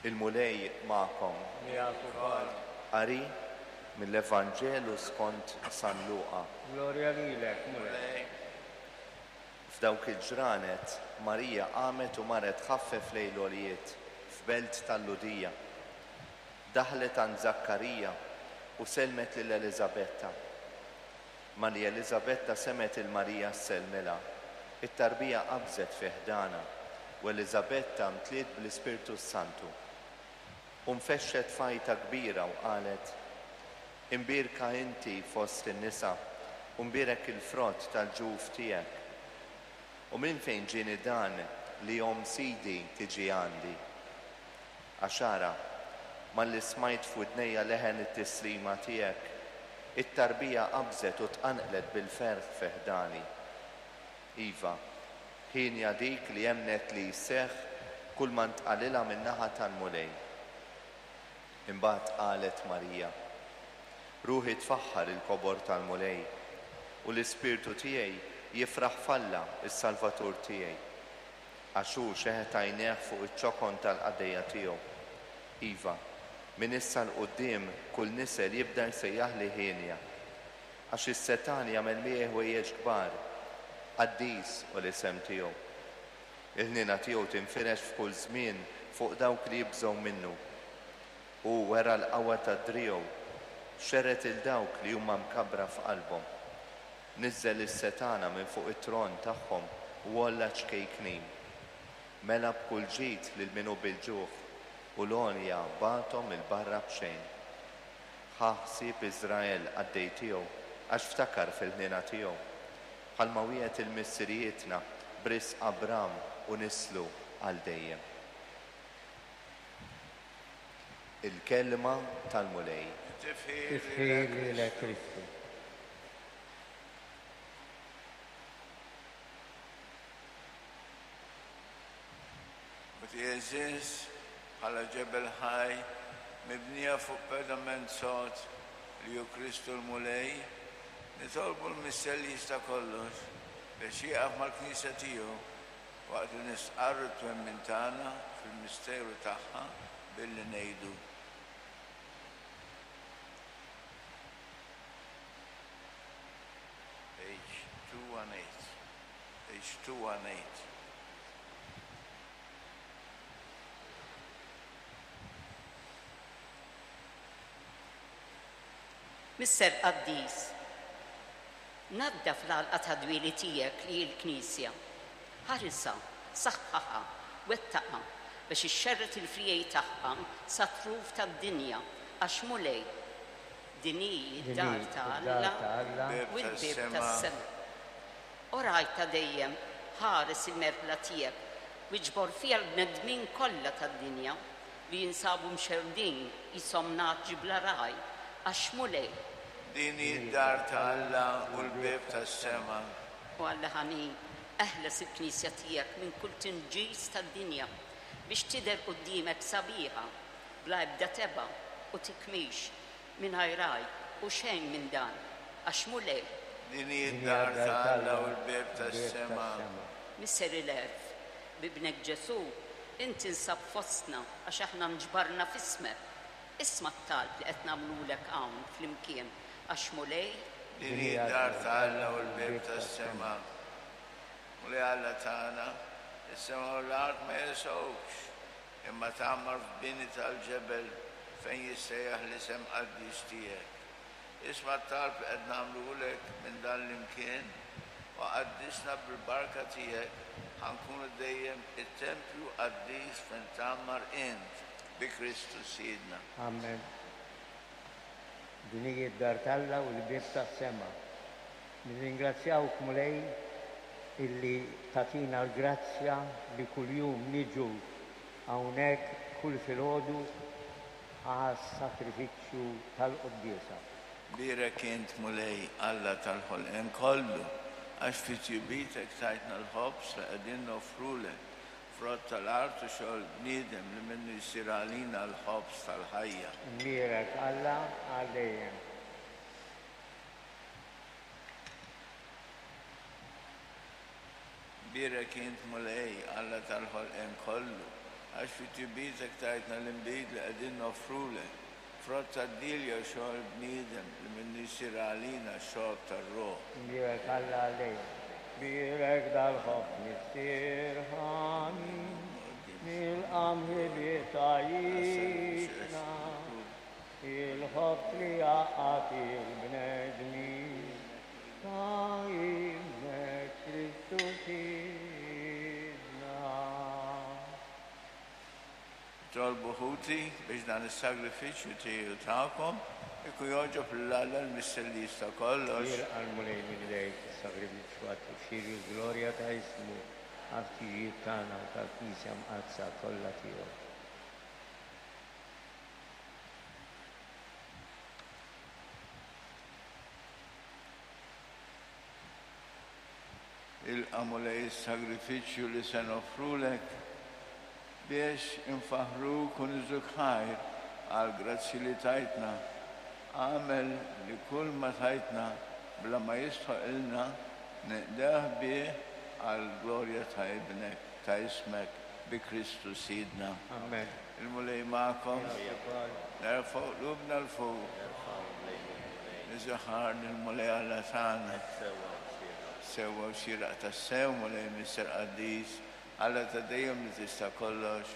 Il-Mulej magħkom. Miegħek ukoll. Qari mill-Evanġelu skont San Luqa. Glorja lilek, Mulej. F'dawk il-ġranet, Marija qamet u marret tħaffef lejn l-għoljiet, f'belt tal-Lhudija. Daħlet għand Żakkarija u sellmet lil Eliżabetta. Malli Eliżabetta semgħet 'il Marija ssellmilha, it-tarbija qabżet fi ħdanha, u Eliżabetta mtliet bl-Ispirtu s-Santu. U nfexxet f'għajta kbira u qalet, Imbierka inti fost in-nisa, u mbierek il-frott tal-ġuf tiegħek. U minn fejn ġieni dan li omm Sidi tiġi għandi? Għax ara, malli smajt f'widnejja leħen it-tislima tiegħek, it-tarbija qabżet u tqanqlet bil-ferħ fi ħdani. Iva, hienja dik li emmnet li jseħħ kulma ntqalilha min-naħa tal-Mulej. Imbagħad qalet Marija, Ruħi tfaħħar il-kobor tal-Mulej, u l-ispirtu tiegħi jifraħ f'Alla, is-Salvatur tiegħi. Għax hu xeħet għajnejh fuq iċ-ċokon tal-qaddejja tiegħu. Iva, minn issa 'l quddiem kull nisel jibda jsejjaħli hienja. Għax is-setgħan jagħmel miegħi ħwejjeġ kbar. Qaddis hu l-isem tiegħu. Il-ħniena tiegħu tinfirex f'kull żmien fuq dawk li jibżgħu minnu. Hu wera l-qawwa ta' driegħu, xerred 'il dawk li huma mkabbra f'qalbhom. Niżżel is-setgħana minn fuq it-tron tagħhom u għolla ċ-ċkejknin. Mela b'kull ġid lil min hu bil-ġuħ, u l-għonja bagħathom 'il barra b'xejn. Ħa ħsieb Iżrael qaddej tiegħu, għax ftakar fil-ħniena tiegħu, bħalma wiegħed 'il missirijietna b'risq Abram u nislu għal dejjem. Il-Kelma tal-Mulej. Tifħir lilek Kristu. U għeżież bħala ġebel ħaj mibnija fuq pedament sod li hu Kristu l-Mulej, nitolbu l-Missier li jista' kollox biex jieqaf mal-Knisja tiegħu waqt li nistqarru t-twemmin tagħna fil-misteru tagħha billi ngħidu. Page 218. Page 218. Missier Qaddis, naddaf l-għalqa tad-dwieli tiegħek li hi l-Knisja. Ħarisha, saħħaħha, wettaqha biex ixxerred il-friegħi tagħha sat-truf tad-dinja, għax Mulej, din hi d-dar ta' Alla u l-bieb tas-sema. O Ragħaj ta' dejjem, ħares il-merħla tiegħek u iġbor fiha l-bnedmin kollha tad-dinja li jinsabu mxerrdin qishom nagħaġ bla ragħaj, għax Mulej, Din hi d-dar ta' Alla u l-bieb tas-sema. O Alla ħanin, eħles il-Knisja tiegħek minn kull tinġis tad-dinja biex tidher quddiemek sabiħa, bla ebda tebgħa u tikmix, mingħajr għajb u xejn minn dan, għax Mulej. Din hi d-dar ta' Alla u l-bieb tas-sema. Missier il-għerf, b'Ibnek Ġesù, int tinsab fostna għax aħna nġbarna f'ismek. Isma' t-talb li qed nagħmlulek hawn flimkien, għax Mulej. Din hi d-dar ta' Alla u l-bieb tas-sema. Mulej Alla tagħna, is-sema u l-art ma jesgħukx, imma tgħammar f'bini tal-ġebel fejn jissejjaħ l-isem qaddis tiegħek. Isma' t-talb li qed nagħmlulek minn dan l-imkien u qaddisna bil-barka tiegħek ħa nkunu dejjem it-tempju qaddis fejn tgħammar int, bi Kristu Sidna. Amen. Din hi d-dar t'Alla u l-bieb tas-sema. Nirringrazzjawk Mulej illi tagħtina l-grazzja li kuljum niġu hawnhekk kull filgħodu għas-sagrifiċċju tal-quddiesa. Bierek int, Mulej, Alla tal-ħolqien kollu, għax fi tjubitek tajtna l-ħobż li qegħdin noffrulek, frott tal-art u xogħol bniedem li minnu jsir għalina l-ħobż tal-ħajja. Imbierek Alla għal dejjem. Bierek int, Mulej, Alla tal-ħolqien kollu, għax. Għax fi tjubitek tajtna l-inbid li qegħdin noffrulek, frott tad-dielja u xogħol bniedem li minnu jsir għalina x-xorb tar-ruħ. Imbierek Alla għal dejjem. Bierek dal-ħobż Missier ħanin, mill-qamħ li bih tgħajjixna, il-ħobż li jgħaqqad il-bnedmin, ta' Ibnek Kristu Sidna. Nitolbu ħuti biex dan is-sagrifiċċju tiegħi u tagħkom ikun jogħġob lil Alla l-Missier li jista' kollox. Jilqa' l-Mulej minn idejk is-sagrifiċċju għat-tifħir u l-glorja ta' ismu, għall-ħtiġijiet tagħna u tal-Knisja mqaddsa kollha tiegħu. Ilqa' Mulej is-sagrifiċċju li se noffrulek biex infaħħruk u niżżuk ħajr għall-grazzji li tajtna. Agħmel li kull ma tajtna bla ma jistħoqilna ninqdewh bih għall-glorja ta' Ibnek, ta' ismek, bi Kristu Sidna. Amen. Il-Mulej magħkom. Miegħek ukoll. Nerfgħu qlubna 'l fuq. Nerfgħuhom lejn il-Mulej. Niżżu ħajr lill-Mulej Alla tagħna. Hekk sewwa u xieraq. Sewwa u xieraq tassew, Mulej Missier Qaddis, Alla ta' dejjem li tista' kollox.